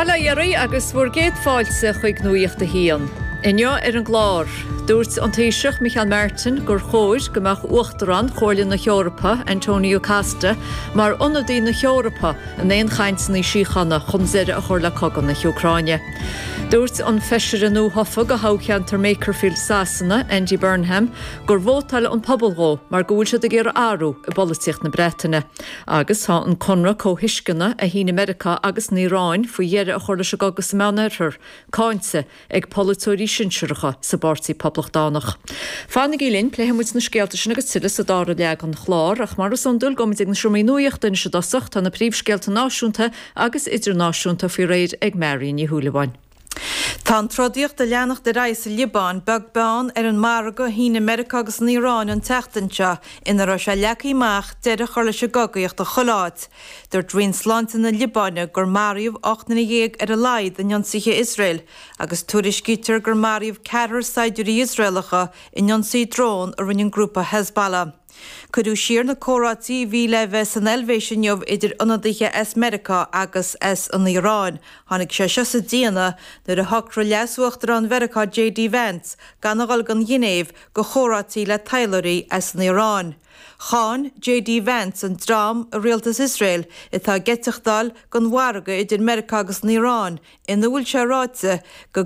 Bail ó Dhia oraibh agus bhur gcéad fáilte chuig Nuacht a hAon. Inniu ar an gclár, dúirt an Taoiseach Micheál Martin gur chóir go mbeadh Uachtarán Chomhairle na hEorpa, Antonio Costa, mar ionadaí na hEorpa in aon chainteanna síochána chun deireadh a chur le cogadh na hÚcráine. Dúirt an feisire nuathofa do thoghcheantar Makerfield Sasana, Andy Burnham, gur vótáil an pobal dhó mar go bhfuil siad ag iarraidh athrú i bpolaitíocht na Breataine. Agus tá an conradh comhthuisceana a shínigh Meiriceá agus an Iaráin faoi dheireadh a chur leis an gcogadh sa Meánoirthear, cáinte ag polaiteoirí sinsearacha sa bPáirtí Poblachtánach. Fanaigí linn, pléifidh muid na scéalta sin agus tuilleadh sa dara leath den chlár, ach mar is iondúil, gabhfaidh muid ag na seomraí nuachta anois i dtosach, tá na príomhscéalta náisiúnta agus idirnáisiúnta faoi réir ag Marion Ní Shúilleabháin. Tá an trodaíocht ag leanacht ar aghaidh sa Liobáin, beag beann ar an margadh a shínigh Meiriceá agus an Iaráin an tseachtain seo ina raibh sé leagtha amach deireadh a chur leis an gcogaíocht i chuile áit. Dúirt Roinn Sláinte na Liobáine gur maraíodh 18 nduine ar a laghad in ionsaithe Iosrael agus tuairiscítear gur maraíodh ceathrar saighdiúirí Iosraelacha in ionsaí drón a rinne an grúpa Hezbollah. Cuireadh siar na comhráití a bhí le bheith san Eilvéis inniu idir ionadaithe as Meiriceá agus as an Iaráin. Tháinig sé seo sa déanamh nuair a shocraigh Leas-Uachtarán Mheiriceá JD Vance gan a dhul don Ghinéiv go chomhráití le taidhleoirí as an Iaráin. Cháin JD Vance an dream i rialtas Iosrael atá ag eiteachtáil don mhargadh idir Meiriceá agus an Iaráin ina bhfuil sé ráite go.